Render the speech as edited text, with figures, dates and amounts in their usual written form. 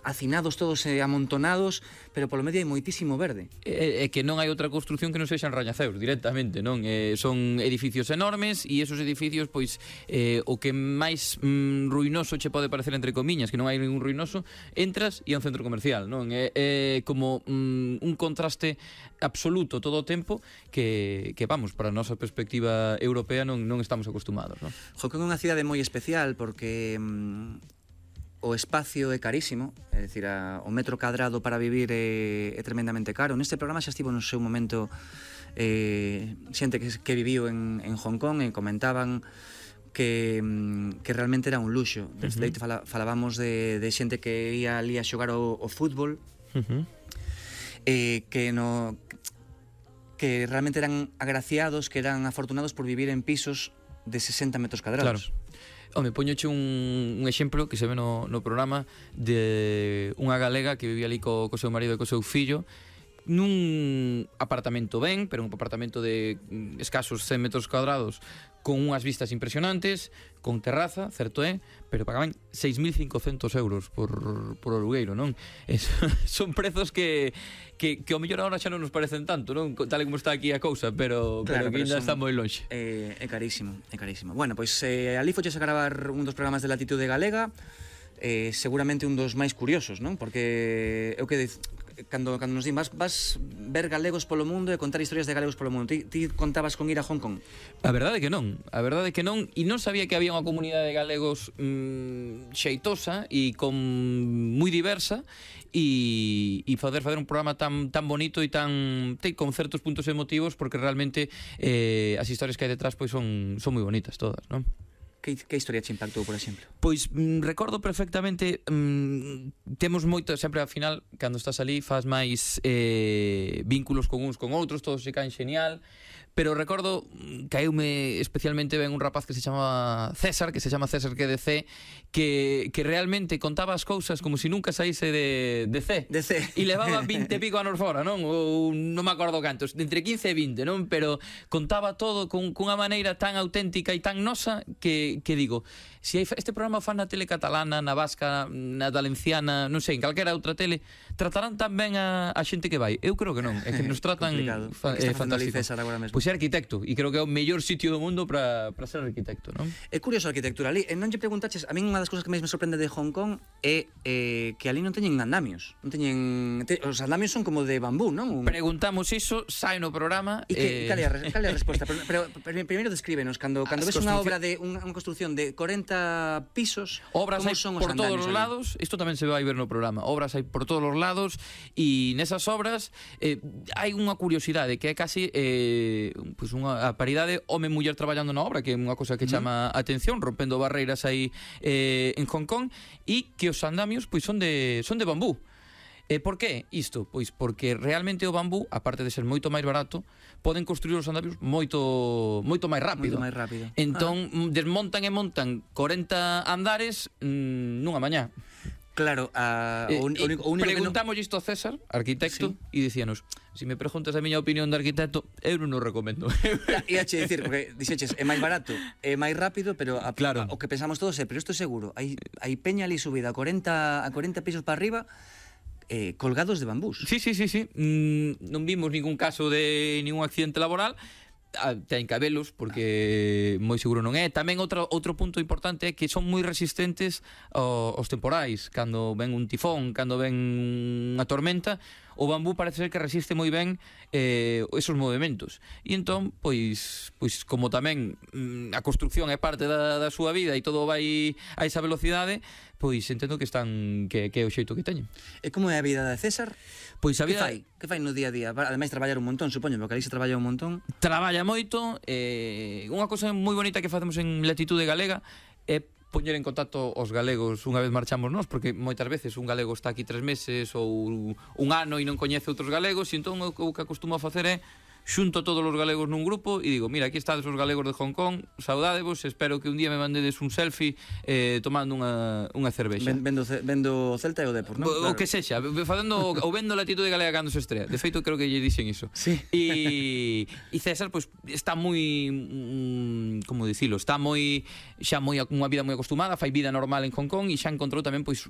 hacinados todos amontonados, pero polo medio hai moitísimo verde. É que non hai outra construción que non sexan rañaceus directamente, non? Son edificios enormes e esos edificios, pois, o que máis ruinoso che pode parecer entre comiñas, que non hai ningún ruinoso, entras e é un centro comercial, non? É como un contraste absoluto todo o tempo que vamos, para a nosa perspectiva europea non estamos acostumados, non? Hong Kong é unha cidade moi especial porque o espacio é carísimo, é dicir, o metro cadrado para vivir é tremendamente caro. Neste programa xa estivo no seu momento xente que viviu en Hong Kong e comentaban que realmente era un luxo. De feito, falábamos de xente que ia ali a xogar o fútbol, que realmente eran agraciados, que eran afortunados por vivir en pisos de 60 metros cadrados. Claro. Home, poñoche un exemplo que se ve no programa de unha galega que vivía ali co seu marido e co seu fillo nun apartamento ben, pero un apartamento de escasos 100 metros cuadrados con unhas vistas impresionantes, con terraza, certo é, pero pagaban 6.500 euros por alugueiro, non? Son prezos que ao mellor agora xa non nos parecen tanto, non? Tal como está aquí a cousa, pero que ainda está moi lonxe. É carísimo, é carísimo. Bueno, pois ali foches a gravar un dos programas de Latitude Galega, seguramente un dos máis curiosos, non? Porque eu que cando nos din vas ver galegos polo mundo e contar historias de galegos polo mundo, ti contabas con ir a Hong Kong? A verdade é que non, e non sabía que había unha comunidade de galegos xeitosa e moi diversa, e facer un programa tan bonito e con certos puntos emotivos, porque realmente as historias que hai detrás pois son moi bonitas todas, non? Que historia te impactou, por exemplo? Pois recordo perfectamente, temos moito, sempre ao final, cando estás ali, faz máis vínculos con uns con outros, todos se caen xenial, pero recordo, caeume especialmente ben un rapaz que se chama César, que QDC, que realmente contaba as cousas como se nunca saíse de C. E levaba 20 e pico anos fora, non? Ou non me acordo cantos, entre 15 e 20, non? Pero contaba todo cunha maneira tan auténtica e tan nosa que digo, se este programa o fan na tele catalana, na vasca, na valenciana, non sei, en calquera outra tele, tratarán tan ben a xente que vai? Eu creo que non, é que nos tratan fantástico. Pois é arquitecto, e creo que é o mellor sitio do mundo para ser arquitecto, non? É curioso a arquitectura ali, non lle preguntaches, a min unha das cousas que máis me sorprende de Hong Kong é que ali non teñen andamios, os andamios son como de bambú, non? Preguntamos iso, sai no programa. E cal é a resposta? Pero primeiro descríbenos, cando ves unha obra de unha construción de 40 pisos, obras hai por todos os lados, isto tamén se vai ver no programa, obras hai por todos os lados, e nesas obras hai unha curiosidade que é casi pois unha paridade home-muller traballando na obra, que é unha cosa que chama a atención, rompendo barreiras aí en Hong Kong, e que os andamios pois son de bambú. Por que isto? Pois porque realmente o bambú, aparte de ser moito máis barato, poden construir os andamios moito máis rápido. Entón, desmontan e montan 40 andares nunha mañá. Claro, o único preguntamos isto a César, arquitecto, e dicíanos, se me preguntas a miña opinión de arquitecto, eu non o recomendo. E ache dicir, porque dixeches, é máis barato, é máis rápido, pero claro, o que pensamos todos é, pero isto é seguro, hai peña ali subida a 40 pisos para arriba, colgados de bambús. Sí. Non vimos ningún caso de ningún accidente laboral. Ten cabelos, porque moi seguro non é. Tamén outro punto importante é que son moi resistentes aos temporais. Cando ven un tifón, cando ven unha tormenta, o bambú parece ser que resiste moi ben esos movimentos. E entón, pois como tamén a construcción é parte da súa vida e todo vai a esa velocidade, pois entendo que é o xeito que teñen. E como é a vida de César? Pois a vida... Que fai no día a día? Ademais traballar un montón, supoño, porque ali se traballa un montón. Traballa moito. Unha cosa moi bonita que facemos en Latitude Galega é poñer en contacto os galegos unha vez marchamos nós, porque moitas veces un galego está aquí 3 meses ou un ano e non coñece outros galegos, e entón o que acostumo a facer é xunto todos os galegos nun grupo e digo, mira, aquí estades os galegos de Hong Kong, saudádevos, espero que un día me mandedes un selfie tomando unha cervexa. Vendo o Celta e o Depor, non? O que sexa, ou vendo Latitude Galega cando se estrea. De feito, creo que lle dixen iso. Sí. E César, pois, está moi, como dicilo, está moi, xa unha vida moi acostumada, fai vida normal en Hong Kong e xa encontrou tamén, pois,